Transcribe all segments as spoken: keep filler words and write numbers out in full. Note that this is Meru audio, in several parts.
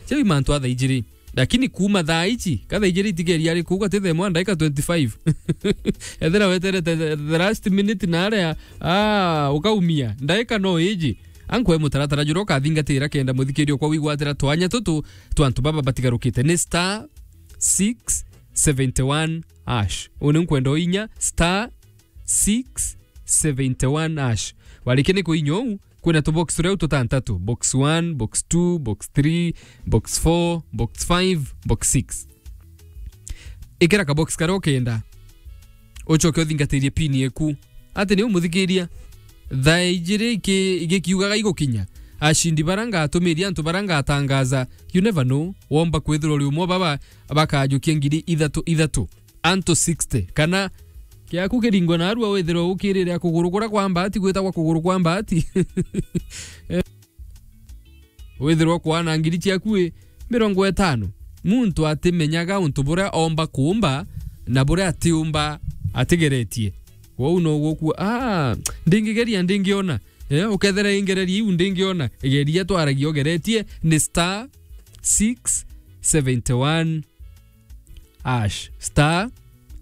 Chai mantu a thaa ijiri. Lakini kuuma thaa iji, ka thaa ijiri itigeria ari kuuga ti thaa imwe na ndaika twenty-five. Ethira weterete the, the last minute na aria, ah, ukaumia. Ndaika no iji. Ankwe mutaratara juria ukathingatira kenda muthikiri okwa wigwatira twanya tutu twa antu baba batigarukite. Ni star six seventy one hash. Uni nkwenda uinya star six seventy one hash. Warikia ni kuinya uu, kwina tubox turia tutantatu. Box one, box two, box three, box four, box five, box six. Ikira kabox karia ukenda. Ucoke uthingatirie pin eku. Ati ni umuthikiria. Thaa ijiri iki-, igikiugaga igukinya. Ashindi bara ngatumiria antu bara ngatangaza. You never know. Womba kwithirwa uri umwe baba bakajukia ngiri ithatu ithatu. Antu sixty. Kana kiaku kiringwe narua withirwe ukirire kuguru kuria kwa mbaati gwitagwa kuguru kwa mbaati. Eh, withirwe kwana ngiri ciaku i mirongo itano. Muntu atimenyaga untu buria omba kuumba na buria atiumba atigeretie. Kwou no gukua, ah, ndingigeria ndingiona. Eh, ukethera ingereria iu ndingiona. Igeria twaragia ugeretie ni star six seventy one hash. Star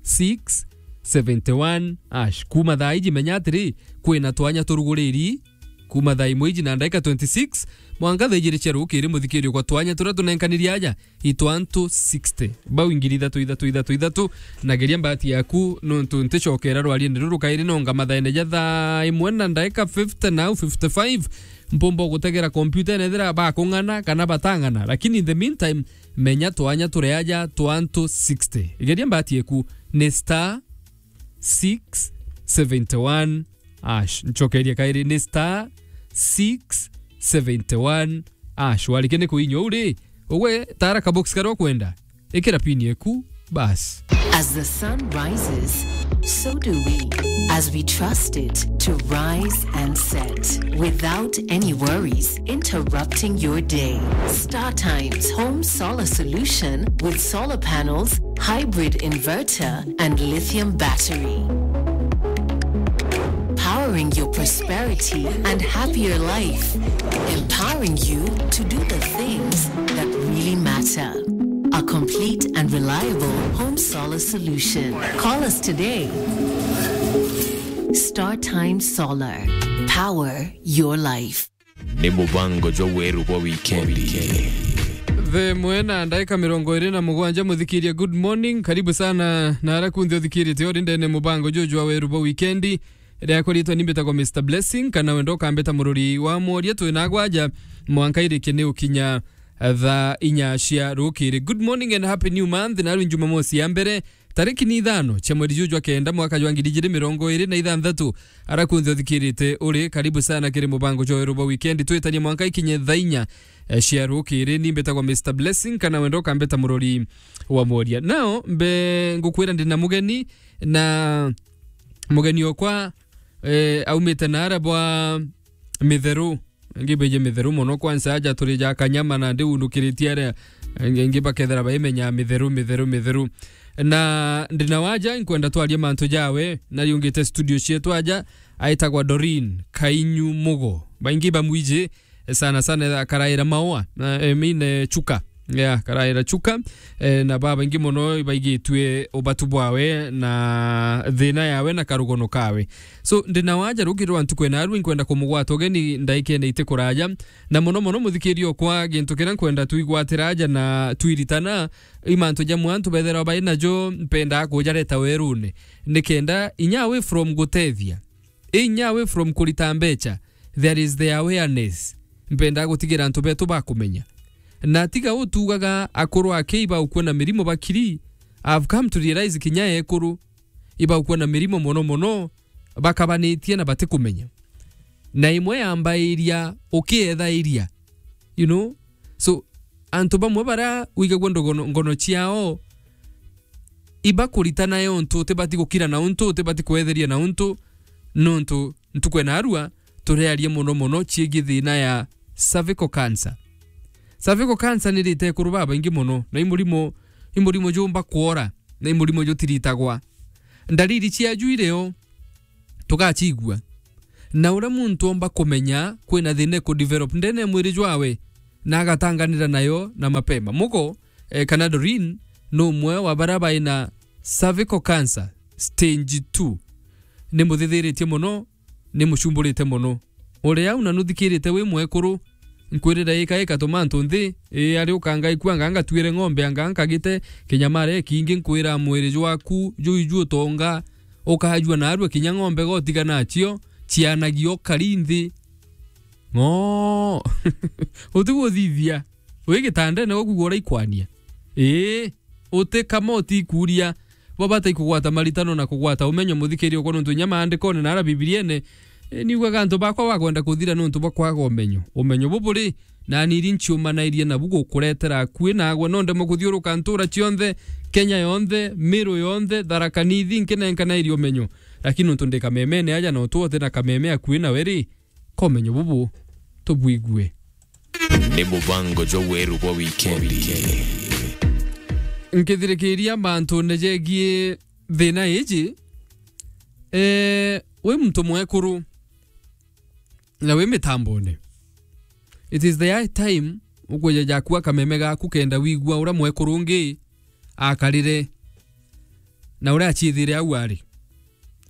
six seventy one hash. Kuuma thaa iji menya atiri, kwina twanya turuguriri. Kuuma thaa imwe iji na ndaika twenty-six, mwanka thaa ijiri cia rukiri muthikiri kwa twanya turia tunenkanirie aja, itwantu sixty. Bau ngiri ithatu, ithatu, ithatu, ithatu, na geria mbati yaku, nontu nticokera rwariene ruru kairi nonga mathaene ja thaa imwe na ndaika fifty na au fifty-five, mpumba gutegera kompyuta ene ethira bakung'ana kana batang'ana. Lakini in the meantime, menya twanya turi aja twantu sixty. Igeria mbati eku ni star six seventy one hash. Ncokerie kairi ni star six seventy one hash. Warikia ni kuinya uu ri, ugwe tara kabox karia ukwenda. Ikira pin eku, bas. As the sun rises, so do we, as we trust it to rise and set without any worries interrupting your day. Star Times Home Solar Solution with solar panels, hybrid inverter, and lithium battery. Powering your prosperity and happier life. Empowering you to do the things that really matter. A complete and reliable home solar solution. Call us today. Star Time Solar. Power your life. Ni mubango jwa weru bwa wikendi. Thaa imwe na ndaika mirongo iri na mugwanja, muthikiria, good morning. Karibu sana na ara kunthe uthikirite uri ndene mubango juju jwa weru bwa wikendi. Riakwa ritwa ni mbitagwa Mister Blessing, kana wenda ukambita murori wa mworia. Twi na gwaja mwanka irikie ni ukinya thaa inya cia rukiri. Good morning and happy new month. Narwi Jumamosi ya mbere, tariki ni ithano cia mweri juju jwa kenda, mwaka jwa ngiri ijiri mirongo iri na ithanthatu. Ara kunthe uthikirite uri, karibu sana kiri mubango jwa weru bwa wikendi. Twitanie mwanka ikinye thaa inya, eh, cia rukiri. Ni mbitagwa Mister Blessing, kana wenda ukambita murori wa mworia. Nao mbe ngukwira ndi na mugeni, na mugeni okwa, eh, aumite na ara bwa Mitheru. Ngibaije Mitheru mono, kwanza aja turi ja Kanyama na ndiunukiritie aria ngi bakethira baimenya Mitheru, Mitheru, Mitheru. Na ndina waja, nkwenda twarie mantu jawe, na riungite studio cietu aja, aitagwa Doreen Kainyu Mugo. Baingi bamwiji sana sana, akaraira Maua, na, I mean, eh, Chuka. Yeah, karaira Chuka. Eh, na babaingi mono ibaigitue ubatu bwawe na thina yawe na karugono kawe. So, ndina waja rukiri rwa ntuku ena arwi, nkwenda kumugwata ugeni ndaikene iti kuraja. Na mono mono, muthikiri okwa, gintu kiria nkwenda twigwatira aja na twiritana, i mantu jamwe antu bethirwa bai najo, mpendaa kujareta werune. Nikenda inya away from gutethia, inya away from kurita mbecha, there is the awareness. Mpendaa gutigira antu betu bakumenya. Na tiga utugaga akuru aki ibaukua na mirimo bakiri, I've come to realize kinya ekuru ibaukua na mirimo mono mono, bakabanitie na batikumenya. Na imwe yambairia ukiethairia, you know? So, antu bamwe bara wigagua ndogono-, ngono ciao, ibakuritana yo untu utibati gukira na untu, utibati kwetheria na untu, nontu ntuku ena arua turiaria mono mono ciigie thina ya cervical cancer. Cervical cancer ni rite ekuru babaingi mono, na i murimo, i murimo jumba kwora, na i murimo jutiritagwa. Ndariri ciaju irio, tugacigua. Na uria muntu omba kumenya kwina thina iku develop ndene ya mwiri jwawe, na agatanganira nayo na mapema. Mugo, eh, kana Doreen, ni umwe wa baria baina cervical cancer stage two. Ni muthithiritie mono, ni mucumburite mono. Uri au na nuthikirite wi mwekuru, nkwirira ika ika tuma antu nthi, ii ari ukanga ikua anga ngatuire ng'ombe anga nkagite kinyamare kingi nkwira mwiri jwaku juu iju utonga, ukajua narua kinya ng'ombe gotiga nacio, cianagia ukari nthi. Ng'oo. Utigwo uthithia. Wi gitandene gwaku gwa uraikwania. Ii, uti kama utikuria. Bo bata ikugwata maritano na kugwata umenyo muthikiria okwa nontu inya maandikone na ara Bibiliene, e, niugaga antu bakwa bakwenda kuthira nontu bwa kwaga umenyo. Umenyo bubu ri, nani iri nciumanairie nabu gukuretera akui nagwe no ndemwe kuthiuruka ntura cionthe, Kenya yonthe, Miru yonthe, Tharaka Nithi nkinenkanairie umenyo. Lakini nontu ndi kamemene aja na utu uti na kameme akui nawe ri, komenyo bubu tubwigue. Ni mubango jwa weru bwa wikendi. Nkithirikiria mantune jegie thina iji, eh, wi muntu mwekuru na wi mitambone, it is the high time ukwija jakua kameme gaku kenda wigua uria mwekuru ungi akarire na uria aciithire au ari.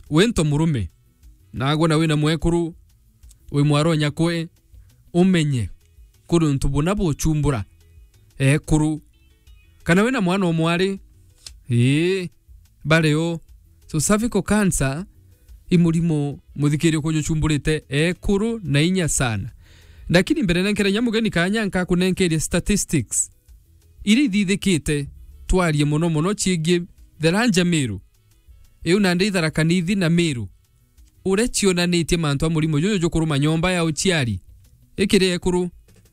Wi nto murume, nagwe na wina mwekuru, wi mwaronya kwe, umenye kuri untu buna buchumbura ekuru. Kana wina mwana o mwari, ii, bari o. So cervical cancer i murimo muthikirio kujuchumburite ekuru na inya sana. Lakini mbere nenkere nya mugeni kanya nkakunenkeria statistics iria ithithikite, twarie mono mono ciigie Tharaka Nithi, Miru. Iu nandi Tharaka Nithi na Miru. Uria cionanitie mantu a murimo juju jukuruma nyomba ya uciari. Ikiri ekuru,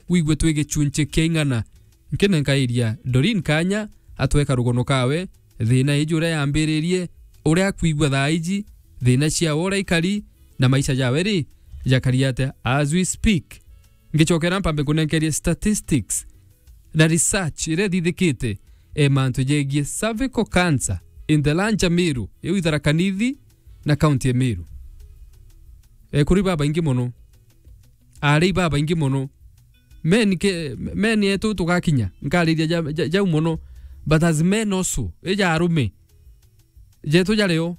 wigwe twi gichunchi kia ing'ana. Nkinenkairia Doreen kanya atweka rugono kawe, thina iji uria yambiririe, uria akwigua thaa iji, thina ciawe uria ikari, na maisha jawe ri, jakari atia as we speak. Ngicokera mpambe kunenkeria statistics na research iria ithithikite, e, mantu jegie cervical cancer in the Tharaka Nithi, iu Tharaka Nithi na county ya Miru. Ekuri babaingi mono, ari babaingi mono, men ke, men yetu tugakinya nkariria ja, ja, jau mono, but as men also, ija arume, jetu jario,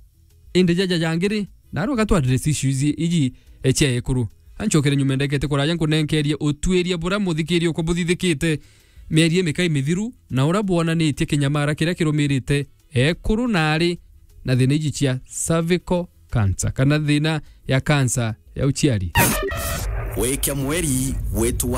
indi jaja jangi ri, narua gatwa address issues iji, e, cia ekuru. Ancokere nyuma ndekete kuraja nkunenkerie utwiria buria muthikiria uko buthithikite mieri imikai mithiru, na uria bwonanitie kinyamara kiria kirumirite ekuru na ari na thina iji cia cervical cancer, kana thina ya cancer ya uciari. Wikia mweri gwitu